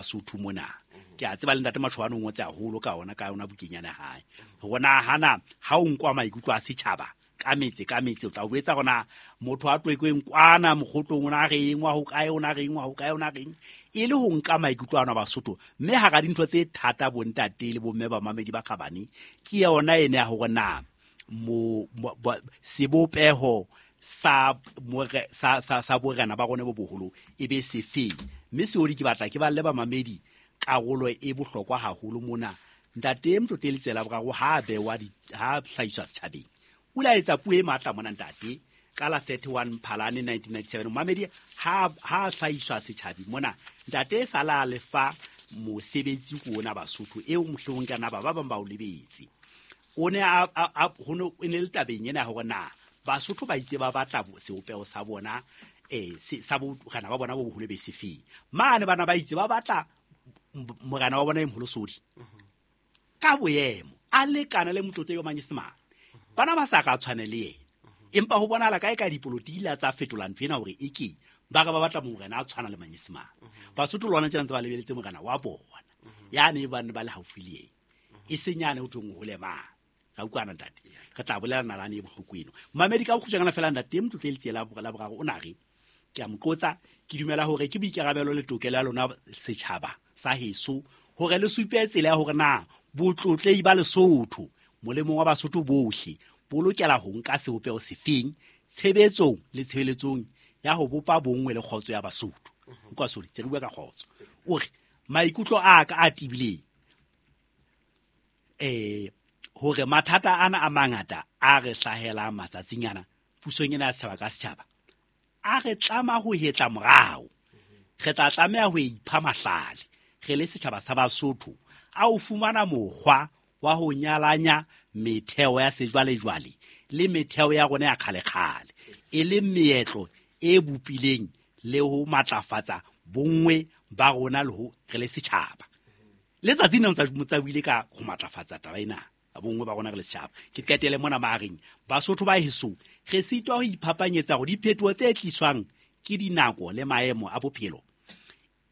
Basotho mona. Ke a tseba le Ntate Mashobane o ngotse haholo ka ona, ka yona bukeng yana hae, hore na hana ha o nkwa maikutlo a setjhaba ka metse ka metse, o tla o etsa hore na motho a Twekweng kwana Mokgotlong o na reng, wa ho kae o na reng, wa ho kae o na reng, e le ho nka maikutlo ana Basotho. Mme hara dintho tse thata, bontate le bomme ba mamedi ba kgabane, ke yona ene ya hore na sebopeho sa borena ba rona bo boholo e be sefeng. Mme Seodi, ke batla ke balle bamamedi karolo e bohlokwa haholo mona. Ntate Motlotlehedi Tsela Boraro ha bewa, ha hlahiswa setjhabeng, o ile a etsa puo e matla mona, ntate, ka la 31 Phalane 1997. Mamedi, ha hlahiswa setjhabeng mona, ntate e sala a lefa mosebetsi ko ona Basotho eo mohlomong ka na ba bang ba o lebetse. O ne a ho ne e ne le tabeng ena hore na Basotho ba itse ba batla sebopeho sa bona, sa borena ba bona bo boholo be sefeng. Mane bana ba itse ba batla morena wa bona e moholo Sodi ka boemo a lekana le Motlotlehedi wa Manyesemane, bana ba sa ka tshwane le yena, empa ho bonahala kae ka dipolotiki la tsa fetola ntho ena hore e ke ba re ba batla morena a tshwana le Manyesemane. Basotho lona tjena ntse ba lebeletse morena wa bona yane ba ne ba le haufi le yena, e seng yane ho thweng o hole mang. Ra utlwana, ntate, re tla bolela nalane e bohloko eno. Mamedi, ka bokgutshwanyana fela, ntate Motlotlehedi Tsela la Boraro o na re, ke a mo qotsa: "Ke dumela hore ke boikarabelo le tokelo ya lona setjhaba sa heso hore le supe tsela ya hore na botlotlehi ba Lesotho molemong wa Basotho bohle bo lokela ho nka sebopeho sefeng tshebetsong le tshebeletsong ya ho bopa bonngwe le kgotso ya Basotho." Utlwa, sorry, tse re bua ka kgotso. O re, "Maikutlo a ka a tibileng hore mathata ana a mangata a re hlahelang matsatsing ana pusong ena ya setjhaba ka setjhaba a re tlama ho hetla morao. Re tla tlameha ho ipha mahlale re le setjhaba sa Basotho a ho fumana mokgwa wa ho nyalanya metheo ya sejwalejwale le metheo ya rona ya kgalekgale, e le meetlo e bopileng le ho matlafatsa bonngwe ba rona le ho re le setjhaba." Letsatsi nna motsa buile ka ho matlafatsa taba ena bonngwe ba rona re le setjhaba. Ke qetele mona mahareng: Basotho ba heso, re sitwa ho iphapanyetsa hore diphetoho tse tliswang ke dinako le maemo a bophelo,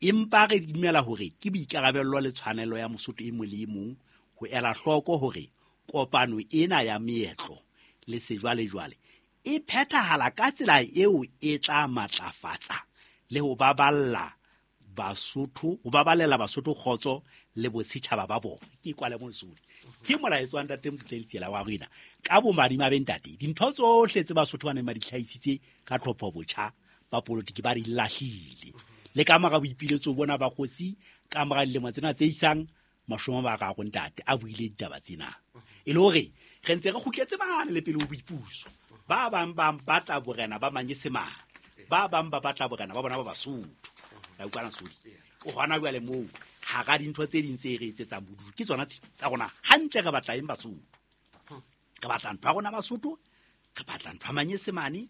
empa re dumela hore ke boikarabello le tshwanelo ya Mosotho e mong le e mong ho ela hloko hore kopano ena ya meetlo le sejwalejwale e phethahala ka tsela eo e tla matlafatsa le ho baballa Basotho, ho babalela Basotho kgotso le bosetjhaba ba bona. Ke kwale monsodi, ke molaetso wa ntate Motlotlehedi Tsela wa rena. Ka bomadimabe, ntate, dintho tsohle tse Basotho ba neng ba di hlahisitse ka tlhopho botjha ba politiki ba di lahlile, le ka mora boipiletso bona ba kgosi ka mora dilemo tsena tse isang 30, ntate a buile ditaba tsena, e le hore re ntse re kgutletse mane le pele ho boipuso. Ba bang ba batla borena ba Manyesemane, ba bang ba batla borena ba bona ba Basotho. Ra utlwana, Sodi? Ke hona jwale moo hara dintho tse ding tse re etsetsang bodutu ke tsona tse tsa rona. Hantle re batla eng, Basotho? Re batla ntho ya rona Basotho, re batla ntho ya Manyesemane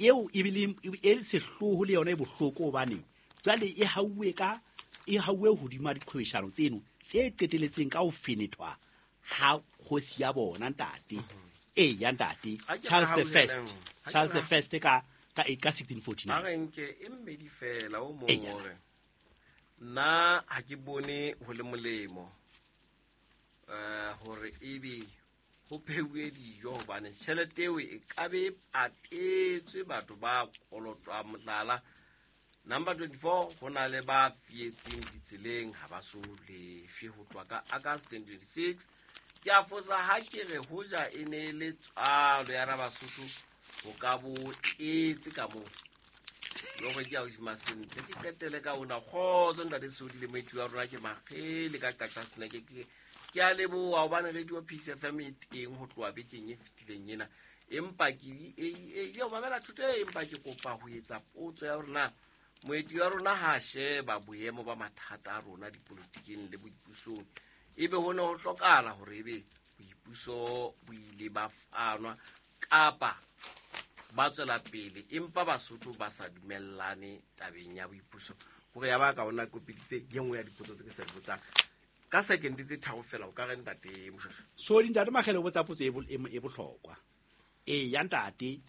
eo ebile e sehloho le yona e bohloko, hobane jwale e hauwe ka e hauwe hodima diqhwebeshano tseno tse qeteletseng ka ho fenethwa ha kgosi ya bona, ntate, e ya ntate Ha ke Charles the First, hauhelang. Ha ke Charles the First ka 1649. A re nke e mmedi fela o mong. Eya. Hore nna ha ke bone ho le molemo hore ebe ho pheuwe dijo, hobane tjhelete eo e ka be e patetswe batho ba kolotwang. Mohlala, number 24, ho na le ba fietseng ditseleng, ha ba so lefe ho tloha ka August 2026. Ke a fosa ha ke re hoja e ne e le tswalo ya Rabasotho ho ka bo tletse ka moo le gore ke ausi Masentle. Ke qetele ka ona: kgotso ntate Sodi le moeti wa rona, ke Magele ka Qacha Seneke. Ke a leboha hobane Radio Peace FM e teng ho tloha bekeng e fetileng ena, empa ke ile ho mamela thuto e, empa ke kopa ho etsa potso ya hore na moeti wa rona ha a sheba boemo ba mathata a rona dipolotikeng le boipusong, ebe ho ne ho hlokahala hore ebe boipuso bo ile ba fanwa kapa ba tswela pele, empa Basotho ba sa dumellane tabeng ya boipuso? Hore ya ba ka ona kopiditse ye nngwe ya dipotso tse ke sa di botsang ka second tse 3 fela, o ka re, ntate Moshweshwe. So ntate Makgele o botsa potso e bohlokwa e ya ntate.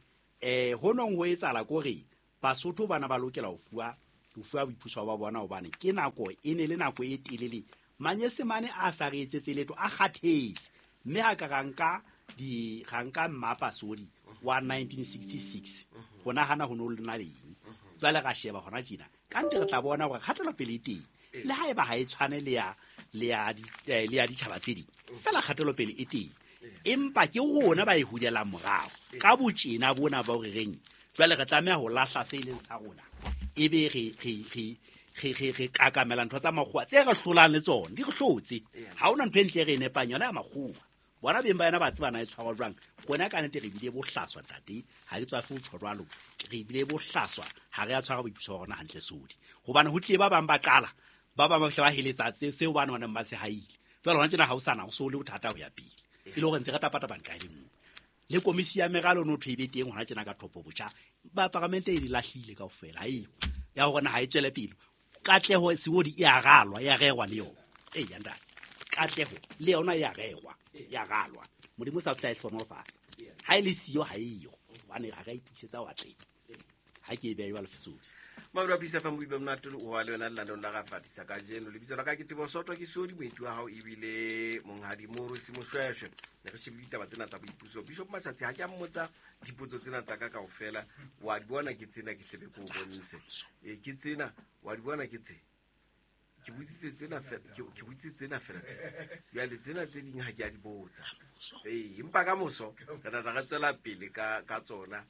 Ho nong ho etsahala kore Basotho bana ba lokela ho fuwa Ho fuwa boipuso ba bona hobane ke nako e ne le nako e telele. Manyesemane a sa re etsetse letho, a kgathetse. Mme ha ka ra nka mmapa sodi wa 1966 ho nahana ho no le na leng. Jwale ra sheba hona tjena. Ka nte re tla bona hore kgatelopele e teng. Le haeba ha e tshwane le ya ditjhaba tse ding. Fela kgatelopele e teng. Empa ke rona ba e hulelang morao. Ka botjena bona ba hore reng. Jwale re tlameha ho lahla se leng sa rona. Ebe re kakamela ntho tsa makgowa tse re hlolang le tsona, di re hlotse. Ha hona ntho e ntle re e nepang yona ya makgowa. Bona beng ba yona ba tseba na e tshwarwa jwang. Rona ka nnete re bile bohlaswa ntate, ha ke tswafe ho tjho jwalo. Re bile bohlaswa, ha re a tshwara boipuso ba rona hantle sodi. Hobane ho tlile ba bang ba qala, ba bang ba fihla ba heletsa seo ba neng ba se haile. Jwale hona tjena ha ho sana, ho so le bothata ho ya pele. E le hore ntse re tapatapa nqa e le nngwe. Le komisi ya meralo no thwe e be teng hona tjena ka thopo botjha. Ba paramente e di lahlile kaofela, ha eyo. Ya hore na ha e tswele pele. Katleho seodi e a ralwa, e a rerwa le yona. Eya ntate. Katleho le yona e a rerwa, e a ralwa. Modimo sa tla e hlohonolofatsa. Ha e le siyo ha eyo. Hobane ha re a itokisetsa ho atleha. Ha ke e beha jwalo Sodi. Mauro Peace FM boibe monate o wa le wena lenaneong la Rafatisa kajeno. Lebitso la ka ke Teboho Soto, ke Sodi, moeti wa hao ebile monghadi Moorosi Moshweshwe. Ne re shebile ditaba tsena tsa boipuso. Bishop Mashatsi ha ke a mmotsa dipotso tsena tsa ka kaofela, wa di bona ke tsena, ke hlebe ke o bontshe. Ke tsena, wa di bona ke tse. Ke botsitse tsena fela, ke botsitse tsena fela tse. Jwale tsena tse ding ha ke a di botsa. Empa ka moso re tla tla re tswela pele ka tsona.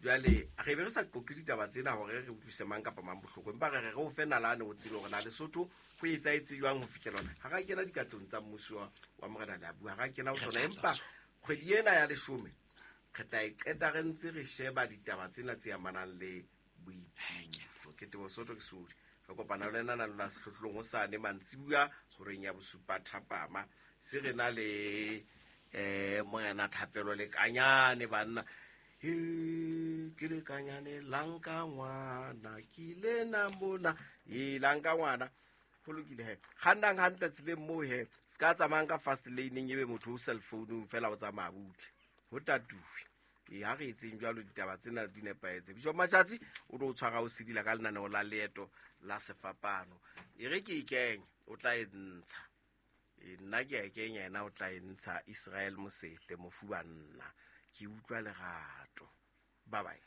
Jwale re be re sa qoqe ditaba tsena hore re utlwise mang kapa mang bohloko, empa re re re o fe nalane o tsebe hore na Lesotho ho etsahetse jwang ho fihlela hona. Ha ra kena dikatlong tsa mmuso wa Morena Leabua, ha ra kena ho tsona, empa kgwedi ena ya 10 re tla e qeta re ntse re sheba ditaba tsena tse amanang le boipuso. Ke Teboho Soto, ke Sodi. Re kopana le lena la sehlohlolong hosane mantsibuya horeng ya 7 thapama. Se re na le Morena Thapelo Lekanyane banna. Ke lekanyane la nka ngwana, ke lena mona. La nka ngwana. Ho lokile he. Kgannang hantle tseleng moo he. Se ka tsamayang ka fast lane-eng ebe motho o cell phone-ung fela o tsamaya butle. Ho tatuwe. Ha re etseng jwalo ditaba tsena di nepahetse. Bishop Mashatsi o tlo tshwara o sedila ka lenaneo la leeto la sefapano. E re ke e kenye, o tla e ntsha. Nna ke a e kenya, yena o tla e ntsha. Israel Mosehle, mofu banna. Ke utlwa lerato. Bye bye.